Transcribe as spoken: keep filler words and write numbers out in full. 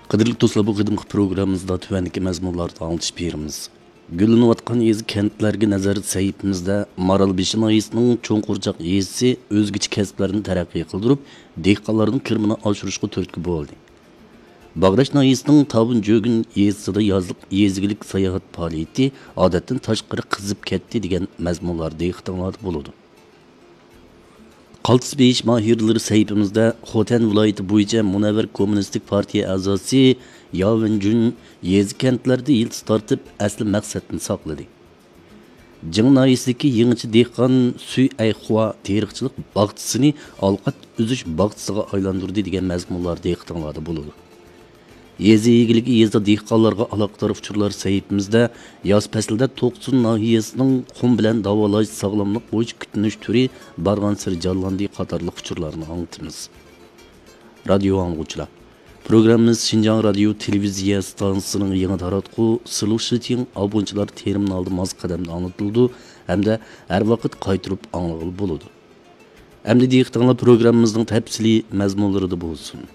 قەدىرلىك دوستلار، بۇ قېتىمقى پروگراممىمىزدا تۆۋەندىكى مەزمۇنلاردا ئاڭلىتىش بېرىمىز. گۈللىنىۋاتقان يېزا، كەنتلەرگە نەزەر سەھىپىمىزدە مارالبېشى ناھىيەسىنىڭ چوڭقۇرچاق يېزىسى ئۆزگىچە كەسىپلەرنى تەرەققىي قىلدۇرۇپ، دېھقانلارنىڭ كىرىمىنى ئاشۇرۇشقا تۈرتكە بولدى. باغراش ناھىيەسىنىڭ تاۋۇن جۆگۈن يېزىسىدا يازلىق يېزا ئىگىلىك ساياھەت پائالىيىتى ئادەتتىن تاشقىرى قىزىپ كەتتى دېگەن مەزمۇنلار دىققىتىڭلاردا بولىدۇ. قالتىس بېيىش ماھىرلىرى سەھىپىمىزدە خوتەن ۋىلايىتى بويىچە مۇنەۋۋەر كوممۇنىستىك پارتىيە ئەزاسى ياۋېن جۈن يېزا كەنتلەردە يىلتىز تارتىپ، ئەسلى مەقسەتنى ساقلىدى. جىڭ ناھىيەسىدىكى يېڭىچە دېھقان سۈي ئەيخۇا تېرىقچىلىق باغچىسىنى ئالقات ئۈزۈش باغچىسىغا ئايلاندۇردى دېگەن مەزمۇنلار دىققىتىڭلاردا بولىدۇ. يېزا ئىگىلىكى، يېزا دېھقانلارغا ئالاقىدار ئۇچۇرلار سەھىپىمىزدە ياز پەسلىدە توقسۇن ناھىيەسىنىڭ قۇم بىلەن داۋالاش ساغلاملىق بويىچە كۈتۈنۈش تۈرى بارغانسېرى جانلاندى قاتارلىق ئۇچۇرلارنى ئاڭلىتىمىز. رادىيو ئاڭلىغۇچىلار، پروگراممىمىز شىنجاڭ رادىيو تېلېۋىزىيە ئىستانسىسىنىڭ يېڭى تاراتقۇ سىلۇشىتىڭ ئابۇنچىلار تېرمىنالىدا ماس قەدەمدە ئاڭلىتىلىدۇ ھەمدە ھەر ۋاقىت قايتۇرۇپ ئاڭلىغىلى بولىدۇ. ئەمدى دىققىتىڭلار پروگراممىمىزنىڭ تەپسىلىي مەزمۇنلىرىدا بولسۇن.